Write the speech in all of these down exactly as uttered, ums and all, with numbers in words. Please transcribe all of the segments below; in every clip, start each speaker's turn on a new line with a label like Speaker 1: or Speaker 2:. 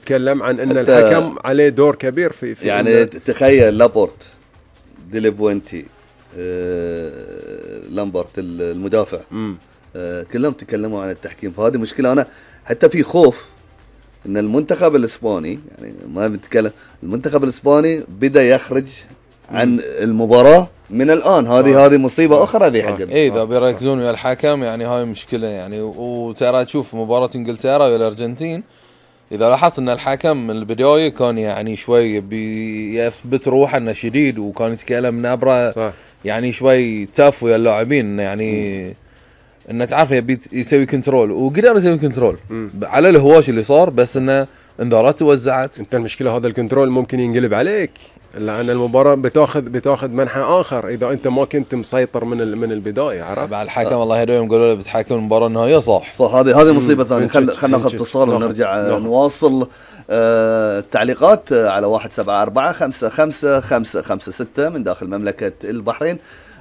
Speaker 1: تتكلم عن ان الحكم عليه دور كبير في, في
Speaker 2: يعني تخيل لابورت، ديليفوينتي، آه، لامبرت المدافع، آه، كلهم تكلموا عن التحكيم. فهذه مشكلة. أنا حتى في خوف إن المنتخب الإسباني، يعني ما بنتكلم، المنتخب الإسباني بدأ يخرج عن مم. المباراة من الآن. هذه هذه مصيبة أخرى ذي حق.
Speaker 3: إيه إذا بيركزون ويا الحكم يعني هاي مشكلة يعني. وترى تشوف مباراة إنجلترا والأرجنتين، إذا لاحظت إن الحكم من البداية كان يعني شوي بيثبت روحه إنه شديد، وكان يتكلم نبرة يعني شوي تاف ويا اللاعبين يعني مم. إنه تعرف يبي يسوي كنترول، وقدر يسوي كنترول مم. على الهواش اللي صار، بس إنه انذارات توزعت.
Speaker 1: أنت المشكلة هذا الكنترول ممكن ينقلب عليك، لأن المباراة بتاخذ بتاخذ منحى آخر إذا أنت ما كنت مسيطر من من البداية. عرفت؟
Speaker 3: بعد الحكم آه. الله يهديهم قالوا له بتحكم المباراة النهائية صح.
Speaker 2: صح. هذه هذه مصيبة ثانية. خل خلنا ناخذ اتصال ونرجع نواصل آه التعليقات على واحد سبعة أربعة خمسة خمسة خمسة خمسة ستة من داخل مملكة البحرين.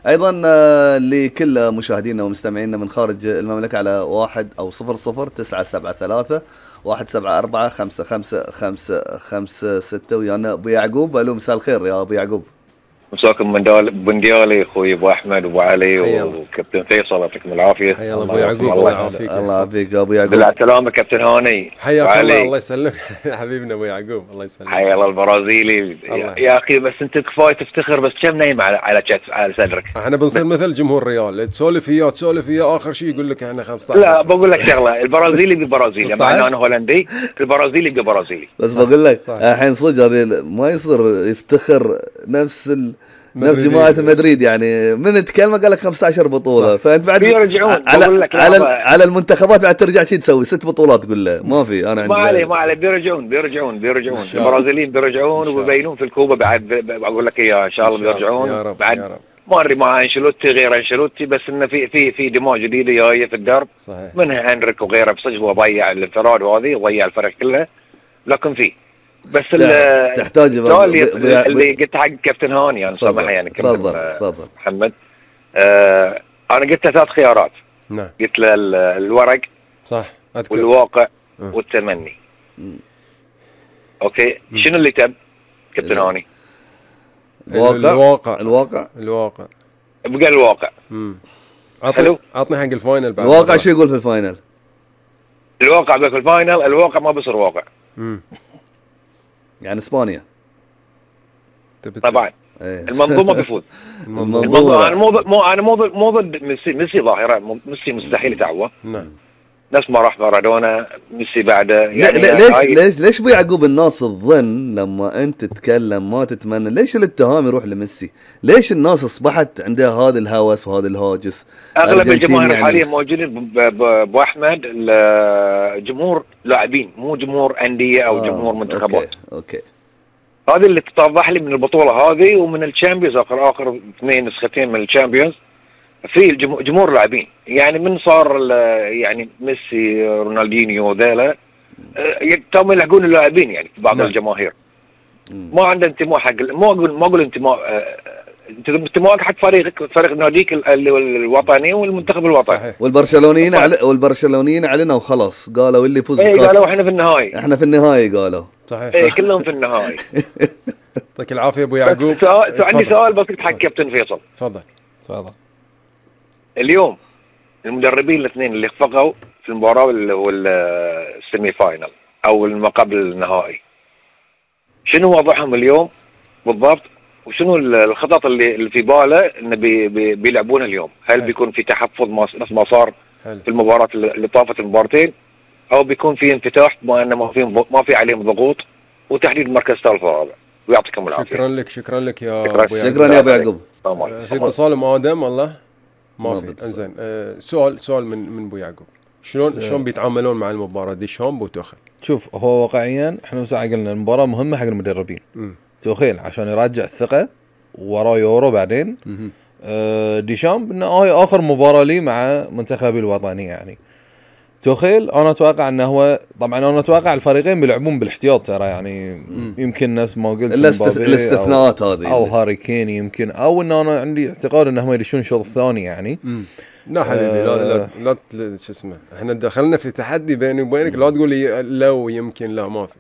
Speaker 2: أيضا آه لكل مشاهدينا ومستمعينا من خارج المملكة على واحد أو صفر صفر تسعة سبعة ثلاثة واحد سبعة أربعة خمسة خمسة خمسة خمسة ستة. ويانا أبو يعقوب. ألو مساء الخير يا أبو يعقوب.
Speaker 4: مساكم من دال بنديالي اخوي ابو احمد وابو علي وكابتن فيصل، يعطيكم العافيه.
Speaker 1: حيا الله ابو يعقوب. الله يعافيك.
Speaker 2: الله يعافيك يا ابو يعقوب.
Speaker 4: بالسلامه كابتن هاني.
Speaker 1: حياك الله. الله يسلمك حبيبنا ابو يعقوب. الله يسلمك.
Speaker 4: حيا الله البرازيلي. يا اخي بس انت كفايه تفتخر، بس كم نايم على على على صدرك.
Speaker 1: احنا بنصير مثل جمهور ريال، تسولف وياه تسولف وياه اخر شيء يقول لك احنا خمسة عشر.
Speaker 4: لا بقول لك شغله، البرازيلي ببرازيلي مع انه انا هولندي، البرازيلي ببرازيلي.
Speaker 2: بس بقول لك الحين صدق هذه ما يصير يفتخر نفس ال نفس جماعة مدريد يعني. من تكلمه قال لك خمسة عشر بطولة، فأنت بعد
Speaker 4: بيرجعون
Speaker 2: على على, على المنتخبات بعد ترجع شيء تسوي ست بطولات تقول له ما في. أنا
Speaker 4: ما عليه ما عليه بيرجعون بيرجعون بيرجعون البرازيليين بيرجعون وبيبينون في الكوبا بعد. بقول لك إياه إن شاء الله بيرجعون
Speaker 1: يا رب
Speaker 4: بعد.
Speaker 1: يا رب.
Speaker 4: ما أدري مع أنشيلوتي غير أنشيلوتي، بس إنه في في في دماء جديدة جاية في الدرب.
Speaker 1: صحيح.
Speaker 4: منها هنريك وغيره بصدق وضيع الانفراد وهذه وضيع الفريق كله، لكن في بس
Speaker 2: تحتاج
Speaker 4: اللي, اللي قلت حق كابتن هاني يعني سامحني يعني
Speaker 2: تفضل تفضل
Speaker 4: محمد. آه انا قلت له ثلاث خيارات.
Speaker 1: نعم.
Speaker 4: قلت له الورق
Speaker 1: صح أذكر.
Speaker 4: والواقع أه. والتمني. م. اوكي م. شنو اللي تب كابتن هاني؟
Speaker 2: الواقع الواقع الواقع
Speaker 4: الواقع بقى الواقع.
Speaker 1: امم عطني عطني حق الفاينل بعد.
Speaker 2: الواقع شو يقول في الفاينل؟
Speaker 4: الواقع بقى في الفاينل، الواقع ما بيصير واقع.
Speaker 1: امم
Speaker 2: يعني اسبانيا
Speaker 4: طبعا. ايه. المنظومه بيفوز.
Speaker 2: المنظومه.
Speaker 4: المنظومه انا مو مو انا مو مو ضد ميسي. ميسي ظاهره، ميسي مستحيل يتعوض.
Speaker 1: نعم.
Speaker 4: نفس ما راح مارادونا ميسي بعده
Speaker 2: يعني. ليش هاي... ليش ليش ابو يعقوب الناس تظن لما انت تتكلم ما تتمنى؟ ليش الاتهام يروح لميسي؟ ليش الناس اصبحت عندها هذا الهوس وهذا الهاجس؟
Speaker 4: اغلب الجماهير يعني حاليا موجودين ابو احمد جمهور لاعبين، مو جمهور انديه او آه. جمهور منتخبات.
Speaker 2: اوكي, أوكي.
Speaker 4: هذه اللي تتضح لي من البطوله هذه ومن الشامبيونز، اخر اخر اثنين نسختين من الشامبيونز في جمهور لاعبين. يعني من صار يعني ميسي رونالدينيو ذيلا تم يلحقون اللاعبين يعني بعض نعم. الجماهير مم. ما عنده انتماء حق، ما اقول ما اقول انتماء انتماء حق فريقك، فريق ناديك الوطني والمنتخب الوطني.
Speaker 2: صحيح. والبرشلونيين على والبرشلونيين علينا وخلاص قالوا اللي يفوز
Speaker 4: بالكاس. اي قالوا احنا في النهائي.
Speaker 2: احنا في النهائي قالوا.
Speaker 1: صحيح.
Speaker 4: اي كلهم في النهائي.
Speaker 1: يعطيك العافيه ابو يعقوب.
Speaker 4: سؤال عندي سؤال بسيط حق كابتن فيصل.
Speaker 1: تفضل
Speaker 3: تفضل.
Speaker 4: اليوم المدربين الاثنين اللي خفقوا في المباراه والسيمي فاينل او ما قبل النهائي، شنو وضعهم اليوم بالضبط؟ وشنو الخطط اللي اللي في باله انه بي بي بيلعبونها اليوم؟ هل هل. بيكون في تحفظ نفس ما صار هل. في المباراه اللي طافت المباراتين، او بيكون في انفتاح بما انه ما في ما في عليهم ضغوط وتحديد مركز ثالث ورابع؟ ويعطيكم العافيه.
Speaker 1: شكرا لك شكرا لك يا
Speaker 2: شكرا, ابو يعقوب. شكرا يا ابو يعقوب.
Speaker 1: في اتصال ام ادم والله ما في. انزين أه سؤال سؤال من من ابو يعقوب، شلون شلون بيتعاملون مع المباراه ديشامب وتوخيل؟
Speaker 3: شوف هو واقعيا احنا مساعة قلنا المباراه مهمه حق المدربين. م. توخيل عشان يرجع الثقه وراه يورو بعدين. أه ديشامب انه هاي اخر مباراه لي مع منتخبي الوطني يعني. توخيل انا اتوقع انه هو طبعا انا اتوقع الفريقين بيلعبون بالاحتياط ترى يعني. م. يمكن ناس ما قلت
Speaker 2: الاستثناءات هذه
Speaker 3: او هاري كين يمكن، او ان انا عندي اعتقاد انهم يدشون شوط ثاني يعني.
Speaker 1: م. لا حبيبي آه لا لا لا شو اسمه، احنا دخلنا في تحدي بيني وبينك، لا تقول لي لو يمكن لا ما في.